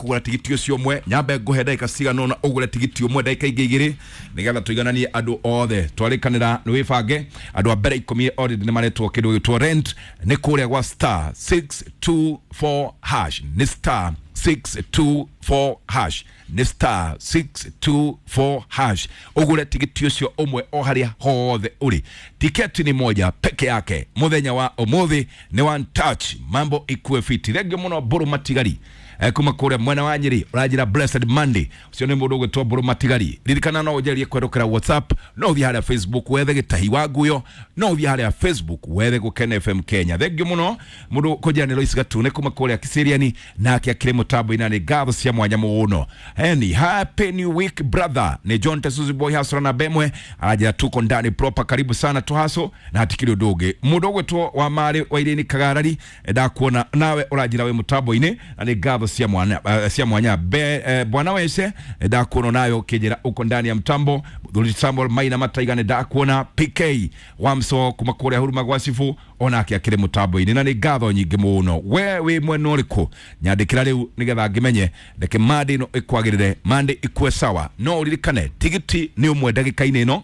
kũgũra tigiti ũcio ũmwe. Nyambe ngũhe ndagĩka cigana ũna ũgũre tigiti ũmwe, ndagĩka ingĩ igĩrĩ, nĩgetha tũigananie andũ othe. Twarĩkanĩra nĩ wĩbange. Andũ a mbere 10 already nĩ maretwo kĩndũ gĩtwo rent, nĩ kũrĩa gwa star 624 hash, nĩ star 624 hash, nĩ star 624 hash, ũgũre tigiti ũcio ũmwe o harĩa hothe ũrĩ. Tiketi ni moja peke yake mũthenya wa ũmũthĩ, nĩ one touch, mambo ikue fiti. Thengio mũno Mbũrũ Matigari, kuma kũrĩa mwena wa Nyĩrĩ, ũranjĩra blessed Monday. Ũcio nĩ mũndũ ũgwĩtwo Mbũrũ Matigari. Ririkana no ũnjerie kwerũkĩra WhatsApp, no ũthiĩ harĩa Facebook wethe Gĩtahi wa Nguyo, no ũthiĩ harĩa Facebook wethe Gũkena FM Kenya. Thengio mũno mũndũ kũnjĩra nĩ Lois Gatune kuma kũrĩa Kiseriani, nake akĩrĩ mũtambo-inĩ, nĩ ngatho cia mwanya mũno. Eni happy new week brother, nĩ John Tesuzi Boy Hasra na Bemwe, aranjĩra tuko ndani proper, karibu sana tuhaso na hatikiri ũndũ ũngĩ. Mũndũ ũgwĩtwo wa marĩ wa Irene Kagarari, ndakuona nawe ũranjĩra wĩ mũtambo-inĩ na nĩ ngatho cia mwanya, cia mwanya be, bwana wese, ndakuona nawe ũkĩnjĩra uko ndani ya mtambo. Mũthuri Samuel Maina Mataiga, nĩ ndakuona. PK Wamso kuma kũrĩa Huruma gwa Cibu, onake akĩrĩ mũtambo-inĩ na nĩ ngatho nyingĩ mũno. We wĩ mwena ũrĩkũ? Nyandĩkĩra rĩu nĩgetha ngĩmenye. Reke mande ĩno ĩkwagĩrĩre, mande ikue sawa. No ũririkane tigiti nĩ ũmwe ndagĩka-inĩ ĩno,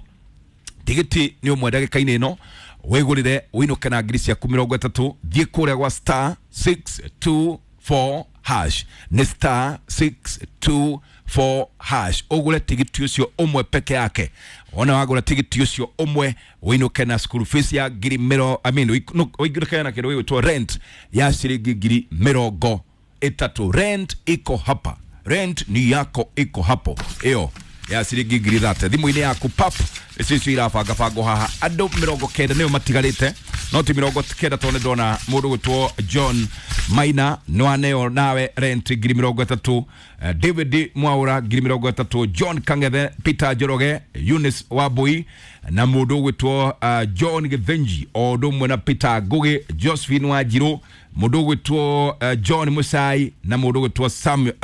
tigiti nĩ ũmwe ndagĩka-inĩ ĩno, wĩgũrĩre ũinũke na ngiri ciaku 30. Thiĩ kũrĩa gwa star 624 hash, nĩ star 624 hash, ũgũre tigiti ũcio ũmwe peke yake. Wona wagũra tigiti ũcio ũmwe, ũinũke na school fees ya ngiri mĩro, I mean, ũinũke na kĩndũ gĩgwĩtwo rent ya ciringi 30,000. Rent iko hapa, rent ni yako iko hapo, ĩyo ya ciringi 30,000 thimũ-inĩ yaku pap. Icio icio irabangabangwo haha. Andũ 90 nĩo matigarĩte, no ti 90 tondũ nĩ ndona mũndũ gwĩtwo John Maina nĩwaneo nawe rent 30,000, David Mwaura 30,000, John Kang'ethe, Peter Njoroge, Eunice Wambui na mũndũ ũgwĩtwo John Githinji, o ũndũ ũmwe na Peter Ngugi, Josephine Wanjiru, mũndũ ũgwĩtwo John Musai na mũndũ ũgwĩtwo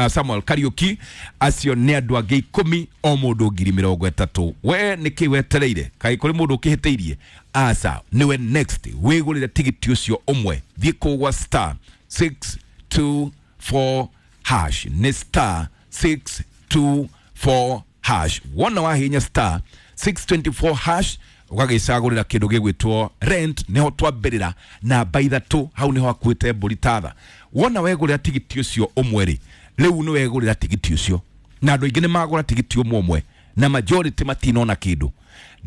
Samuel Kariuki. Acio nĩ andũ angĩ 10, o mũndũ 30,000. We nĩkĩ wetereire? Kaĩ kũrĩ mũndũ ũkĩhĩtĩirie? Aca, nĩwe next. Wĩgũrĩre tigiti ũcio ũmwe, thiĩ kũgwa star 624 hash, nĩ star 624 hash. Wona wahinya star 624 hash, ũgagĩcagũrĩra kĩndũ gĩgwĩtwo rent. Nĩho twambĩrĩra namba 3, hau nĩho akuĩte mbũri tatha. Wona wegũrĩra tigiti ũcio ũmwe rĩ, rĩu nĩ wegũrĩra tigiti ũcio, na andũ aingĩ nĩ magũra tigiti ũmwe ũmwe na majority matinona kĩndũ.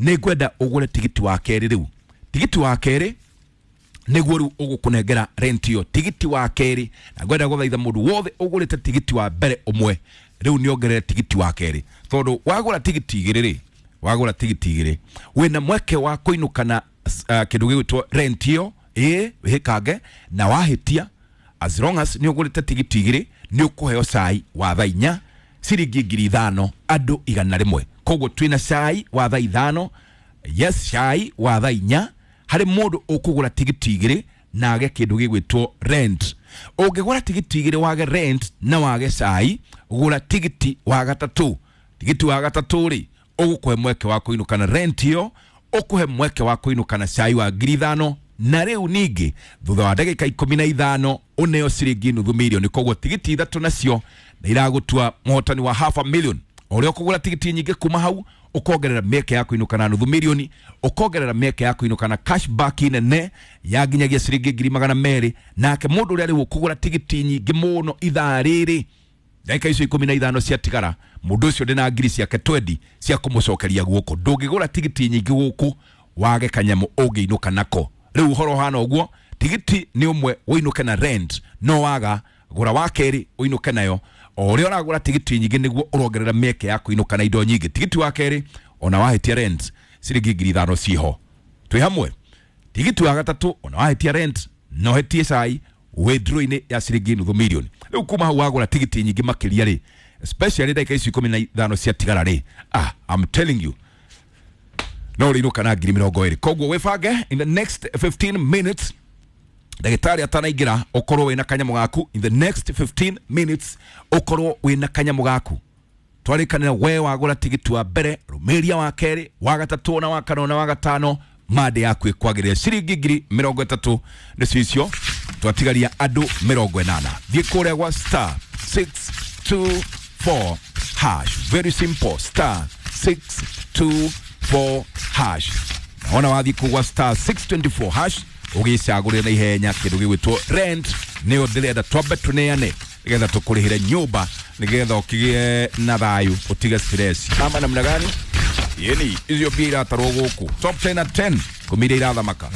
Nĩ ngwenda ũgũre tigiti wa kerĩ rĩu. Tigiti wa kerĩ nĩguo rĩu ũgũkũnengera rent ĩyo, tigiti wa kerĩ. Na ngwenda gũthaitha mũndũ wothe ũgũrĩte tigiti wa mbere ũmwe, rĩu nĩ ongerere tigiti wa kerĩ, tondũ wagũra tigiti igĩrĩ rĩ, wagũra tigiti igĩrĩ wĩna mweke wa kũinũka na kĩndũ gĩgwĩtwo rent ĩyo. Ĩĩ, wĩhĩkange na wahĩtia, as long as nĩ ũgũrĩte tigiti igĩrĩ, nĩ ũkũheo cai wa thaa 4 ciringi 5,000, andũ 100. Koguo twĩna cai wa thaa 5, yes, cai wa thaa 4 harĩ mũndũ ũkũgũra tigiti igĩrĩ na age kĩndũ gĩgwĩtwo rent. Ũngĩgũra tigiti igĩrĩ wage rent na wage cai, gũra tigiti wa gatatũ. Tigiti wa gatatũ rĩ, ũgũkũhe mweke wa kũinũka na rent ĩyo, ũkũhe mweke wa kũinũka na cai wa 5,000, na rĩu ningĩ thutha wa ndagĩka 15 ũneo ciringi 500,000. Koguo tigiti ithatũ nacio na iragũtua mũhotani wa half a million. O ũrĩa ũkũgũra tigiti nyingĩ kuma hau, ũkongerera mĩeke ya kũinũka na 500,000, ũkongerera mĩeke ya kũinũka na cashback nene ya nginyagia ciringi 200,000. Nake mũndũ ũrĩa rĩu ũkũgũra tigiti nyingĩ mũno ithaa rĩrĩ, ndagĩka icio 15 ciatigara, mũndũ ũcio ndĩna ngiri ciake 20 cia kũmũcokeria guoko. Ndũngĩgũra tigiti nyingĩ gũkũ wage kanyamũ ũngĩinũka nako. Rĩu ũhoro ũhana ũguo, tigiti nĩ ũmwe ũinũke na rent, no waga gũra wa kerĩ ũinũke nayo. O ũrĩa ũragũra tigiti nyingĩ nĩguo ũrongerera mĩeke ya kũinũka na indo nyingĩ. Tigiti wa kerĩ, ona wahĩtia rent, ciringi 5,000 ciho, twĩ hamwe. Tigiti wa gatatũ, ona wahĩtia rent no hĩtie cai, withdraw-inĩ ya ciringi 500,000. Rĩu kuma hau wagũra tigiti nyingĩ makĩria rĩ, especially ndagĩka icio 15 ciatigara rĩ, I'm telling you, no ũrĩinũka na 20,000. Koguo wĩbange in the next 15 minutes, ndagĩtarĩ atanaingĩra, ũkorwo wĩna kanyamũ gaku. In the next 15 minutes ũkorwo wĩna kanyamũ gaku. Twarĩkanĩra, we wagũra tigiti wa mbere, rũmĩria wa kerĩ, wa gatatũ na wa kana na wa gatano, mande yaku ĩkwagĩrĩra. Ciringi 30,000 nĩcio icio. Twatigaria andũ 80. Thiĩ kũrĩa gwa star 624 hash. Very simple, star 624 hash. Ona wathiĩ kugwa star 624 hash ũgĩcagũrĩre na ihenya kĩndũ gĩgwĩtwo rent, nĩyo ndĩrenda twambe tũneane nĩgetha tũkũrĩhĩre nyũmba, nĩgetha ũkĩgĩe na thayũ, ũtige stress. Ama namna gani? Yeni icio mbia iratarwo gũkũ top 10 na 10 kũmĩria irathamaka.